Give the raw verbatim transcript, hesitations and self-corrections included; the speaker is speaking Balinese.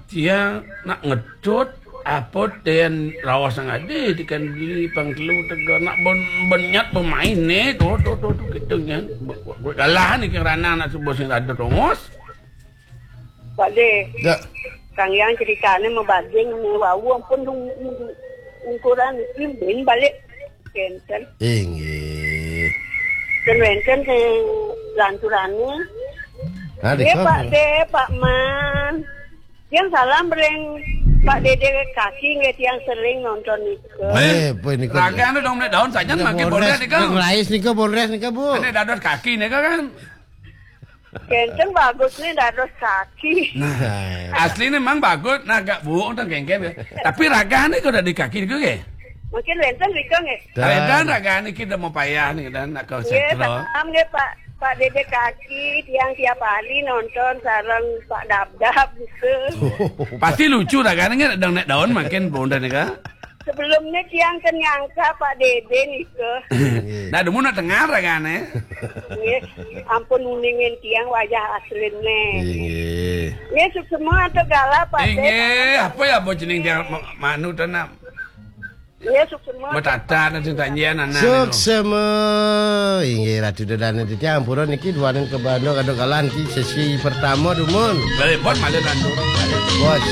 Tiang nak ngetut apa ten raos nang ade di kan di pangkelu tega nak ben benyat pemain ne tu tu tu tu gitu kan. Galah ni keng ranang nak subuh sing rada tongos. Pak De. Ya. Kang Yang ceritane mebading ne wau ampun ungkuran imbin balik kenten. Inggih. Dan wenten ke lanturane. Nah, Pak De, Pak Man. Yang salam ring Pak Dede Kaki nggih tiang sering nonton nika. Eh, apa nika? Raga anu dong nek daun saja makin boleh nika. Ngelais nika, boleh nika, Bu. Ane dados kaki nika kan. Kenten bagus nih dados kaki. Nah, asli nih mang bagus, nah agak buuk nonton kengken ya. Tapi raga nih kok dari kaki nika nggih. Mungkin wenten nika nggih. Dan ragane kita mau payah nih dan nak kau setra. Salam nggih Pak Pak Dede Kaki, tiang tiap hari nonton sareng Pak Dabdab gitu. Pasti lucu ragane nggih dong nek daun makin bonda nika. Sebelumnya tiang kan nyangka Pak Dede nika. Nah, demu nak dengar ragane. Nggih, ampun uningin tiang wajah asline. Inggih. Nggih, suksema atau gala Pak Dede. Inggih, apa ya bos jeneng dia ma- manu tanam. Iya, suksema. Betata nanti tanjian anak. Suksema. Inggih Ratu Dedane titiang ampura niki duaning ke Bandung kaduk kalan ki sesi pertama dumun. Telepon malah lantur. Bos.